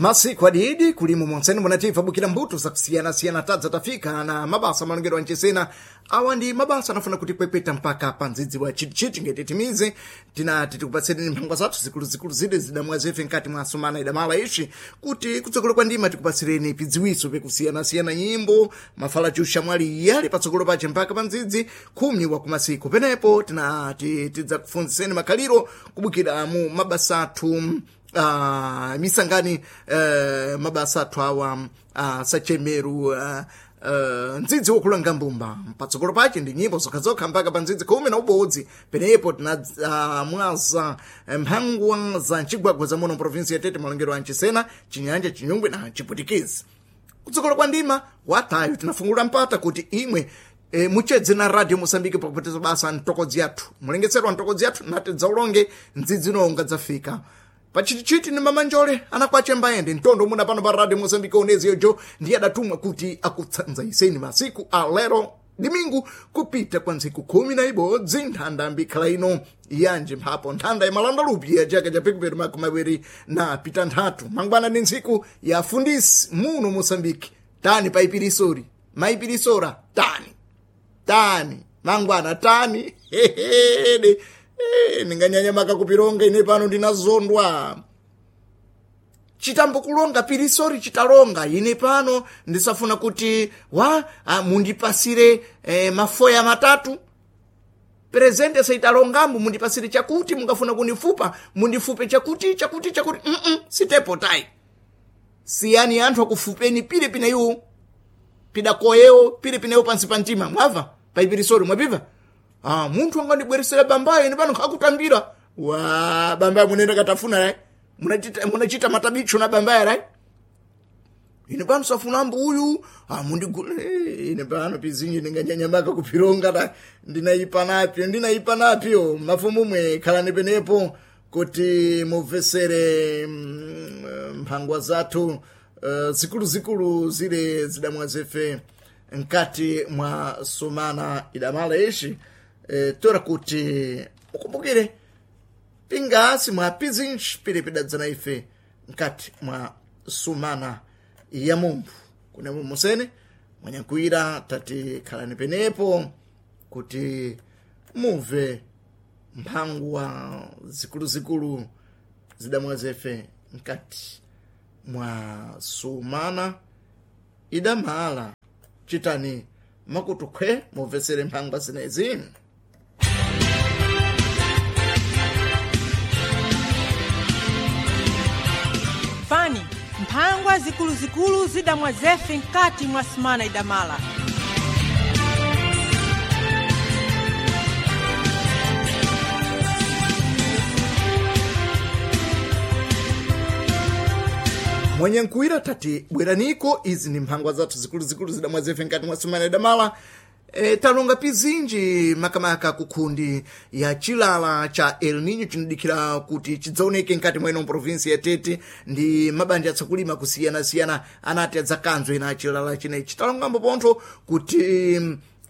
Masiku adidi kulimo monseni munatifa bukira mbuto zakusiyana-siyana tadza tafika na mabasa malongero ancesena. Awa ndi mabasa anafuna kutipwepweta mpaka pa ndzidzi wa chitichiti ngeti timize tinati tikupatsireni mphangwa zathu zikuluzikulu zide zidamwa zefe nkati mwa sumana idamala ishi kuti kutsogolo kwa ndima tikupatsireni pidziwiso pikusiyana-siyana nyimbo mafala chuxa mwali yali patsogolo pace mpaka pa ndzidzi khumi wa kumasiku. Penepo tinati tidzakufunziseni makhaliro kubukira mu mabasa athu, misangani, mabasa athu awa sachemeru, ndzidzi wokulanga mbumba patsogolo pace ndi nyimbo zokhazokha mpaka pa ndzidzi 11. Penepo tina mwaza mphangwa za mcigwagwa za muno provinsi ya Tete, malongero a Nchisena, Chinyanja, Chinyungwe na Chipwitikizi. Kutsogolo kwa ndima watayo tinafungula mpata kuti imwe muchedze na Radio Moçambique pakupatiza basa ntokodzi yathu, mulengetserwa ntokodzi yathu nati dzaulonge ndzidzi nonga dzafika pachitichiti ni mamanjole anakwache mbayende mtondo muna pano pa Radio Moçambique. Onezi yojo ndiye adatumwa kuti akutsanzaiseni masiku alero dimingu kupita kwa ntsiku 11 nthanda mbikhala ino yanje mphapo nthanda ya malanda lupi ya chaka cha pikuperi 2026. Mangwana ndi ntsiku ya fundisi muno Moçambique. Tani paipirisori maipirisora tani tani mangwana tani hehede. Ndinganyanya makakupironga ine pano ndinazondwa chitambo kulonga pirisori chitalonga ine pano ndisafuna kuti wa mundipasire mafoya matatu presente saitalongambo mundipasire chakuti mungafuna kunifupa mundifupe chakuti chakuti chakuti. Sitepo tai siyani anthu akufupeni pile pineyo pidakoyewo pile pineyo pansi pa mtima mwava paipirisori mwapiva. Munthu angandibweresera bambayo ine pano nkakutambira wa bambayo munenda katafuna lai munachita matabicho na bambayo lai ine pano safunambo uyu mundigula ine pano pizinji ndinganyanyamaka kupironga ta ndinaipa napyo ndinaipa napyo. Mafumu mwe khalani penepo kuti mubvesere mphangwa zathu zikuluzikulu zile zidamwa zefe nkati mwa sumana idamala ishi. Tora kuti ukumbukire pingasi mwa pizinji pili pidadzana ife nkati mwa sumana ya mumphu kunemo musene mwanyakwira tati khalani penepo kuti mumve mphangwa zikuluzikulu zidamwa zefe nkati mwa sumana idamala. Chitani makutu khwe mubvesere mphangwa zinezi. Fani mphangwa zikuluzikulu zidamwa zefe nkati mwa sumana idamala. Mwenye nkuwira tati bweraniko izi ni mphangwa zathu zikuluzikulu zidamwa zefe nkati mwa sumana idamala. Talonga pizinji makamaka kukhundi ya chilala cha El Nino chinadikira kuti chidzaoneke nkati mwa ino provinsi ya Tete ndi mabanja atsakulima kusiyanasiyana anati adzakanzwe na chilala chinechi. Talongambo pontho kuti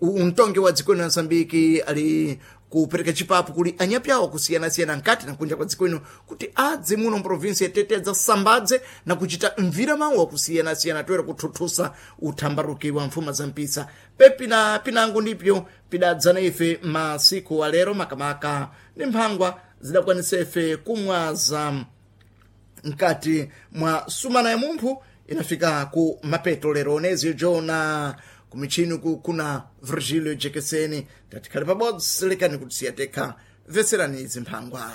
mtongi wa dziko lino la Msambiki ali kupereka chipapu kuli anyapyawo kusiyanasiyana nkati na kunja kwa dziko lino kuti adze muno mprovinsi ya Tete adzasambadze na kuchita mvira mawu akusiyanasiyana toera kuthuthusa uthambaruki wa mfuma za mpisa pepina pinango ndipyo pidadzana ife masiku alero makamaka ndi mphangwa zidakwanisa ife kumwaza nkati mwa sumana ya mumphu inafika ku mapeto lero. Onezio jona kumichini kuna Virgilio Jekeseni tatikhale pabodzi lekani kuti siyatekha veserani izi mphangwa.